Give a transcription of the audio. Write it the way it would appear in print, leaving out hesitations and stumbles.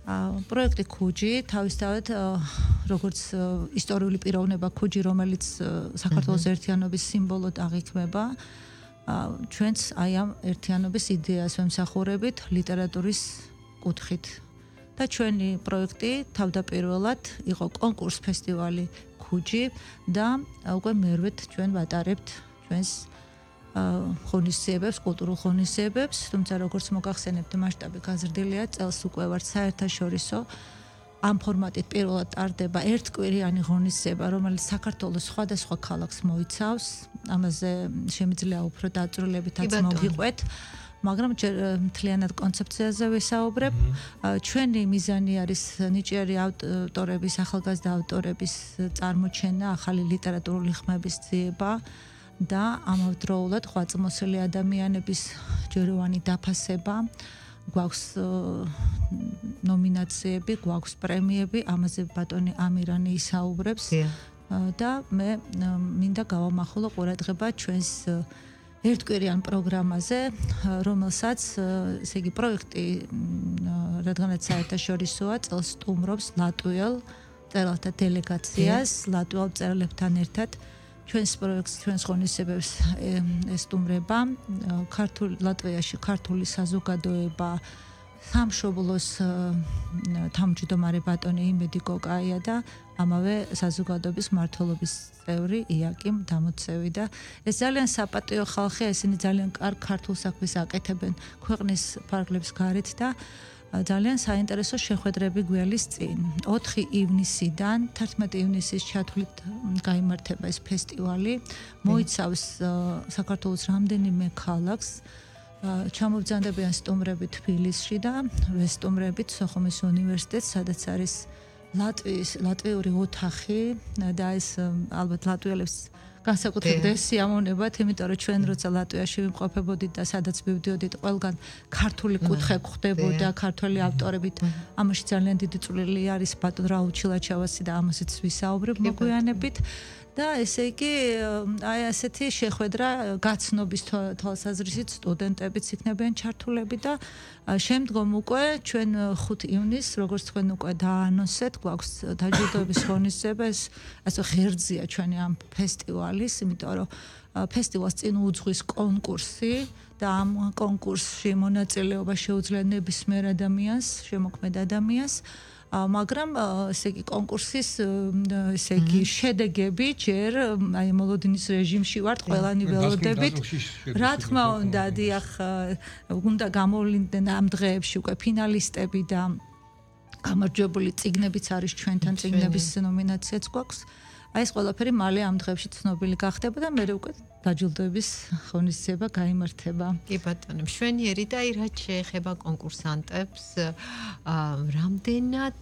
პროექტი ქუჯი თავისთავად როგორც ისტორიული პიროვნება ქუჯი, რომელიც საქართველოს ერთიანობის სიმბოლოდ აღიქმება, ჩვენც აი ამ ერთიანობის იდეას ვემსახურებით ლიტერატურის კუთხით. და ჩვენი პროექტი თავდაპირველად იყო კონკურს ფესტივალი ქუჯი და უკვე მერვედ ჩვენ ვატარებთ ჩვენს ღონისძიებებს, კულტურულ ღონისძიებებს, თუმცა როგორც მოგახსენებთ, მასშტაბი გაზრდილია, წელს უკვე ვართ საერთაშორისო ამ ფორმატით პირველად ტარდება ერთკვირიანი ღონისძიება, რომელიც საქართველოს სხვადასხვა ქალაქს მოიცავს. ამაზე შემიძლია უფრო დაწვრილებითაც მოგიყვეთ. მაგრამ მთლიანად კონცეფციაზე ვისაუბრებ. ჩვენი მიზანი არის ნიჭიერი ავტორების, ახალგაზრდა ავტორების წარმოჩენა, ახალი ლიტერატურული ხმების ძიება და ამავდროულად ღვაწლმოსილი ადამიანების ჯეროვანი დაფასება. გვაქვს ნომინაციები, გვაქვს პრემიები, ამაზე ბატონი ამირანი ისაუბრებს და მე მინდა გავამახვილო ყურადღება ჩვენს ერთკვირიან პროგრამაზე, რომელსაც ესე იგი პროექტი რადგანაც საერთაშორისოა, წელს სტუმრობს ლატვიელ მწერალთა დელეგაციას, ლატვიელ მწერლებთან ერთად ჩვენს პროექტს, ჩვენს ღონისძიებებს ესტუმრება ლატვიაში ქართული საზოგადოება, სამშობლოს თავმჯდომარე ბატონი იმედი კოკაია და ამავე საზოგადოების მმართველობის წევრი იაკიმ დამოცევი და ეს ძალიან საპატიო ხალხია, ესენი ძალიან კარგ ქართულ საქმეს აკეთებენ ქვეყნის ფარგლებს გარეთ და ძალიან საინტერესო შეხვედრები გველის წინ. 4 ივნისიდან 11 ივნისის ჩათვლით გაიმართება ეს ფესტივალი. მოიცავს საქართველოს რამდენიმე ქალაქს. ჩამოვძანდებიან სტუმრები თბილისში და ვესტუმრებით სოხუმის უნივერსიტეტს, სადაც არის ლატვიური ოთახი და ეს ალბათ ლატვიელებს განსაკუთრებით სიამოვნებათ, იმიტომ რომ ჩვენ როცა ლატვიაში ვიმყოფებოდით და სადაც მივდიოდით, ყველგან ქართული კუთხე გვხდებოდა, ქართველი ავტორებით. ამაში ძალიან დიდი წვლილი არის ბატონ რაულ ჩილაჩავასი და ამასაც ვისაუბრებ მოგვიანებით. და ესე იგი, აი ასეთი შეხვედრა გაცნობის თვალსაზრისით სტუდენტებიც იქნებიან ჩართულები და შემდგომ უკვე ჩვენ 5 ივნისს, როგორც თქვენ უკვე დაანონსეთ, გვაქვს დაჯილდოების ღონისძიება, ეს ასე ღერძია ჩვენი ამ ფესტივალის, იმიტომ რომ ფესტივალს წინ უძღვის კონკურსი და ამ კონკურსში მონაწილეობა შეუძლია ნებისმიერ ადამიანს, შემოქმედ ადამიანს. მაგრამ ესე იგი კონკურსის ესე იგი შედეგები ჯერ აი მოლოდინის რეჟიმში ვართ ყველანი ველოდებით. რა თქმა უნდა, დიახ, უნდა გამოვლინდნენ ამ დღეებში უკვე ფინალისტები და გამარჯვებული წიგნებიც არის ჩვენთან, წიგნების ნომინაციაც გვაქვს. აი ეს ყველაფერი მალე ამ დღეებში ცნობილი გახდება და მე უკვე დაჯილდოების ღონისძიება გაიმართება. კი ბატონო, მშვენიერი და აი რაც შეეხება კონკურსანტებს, რამდენად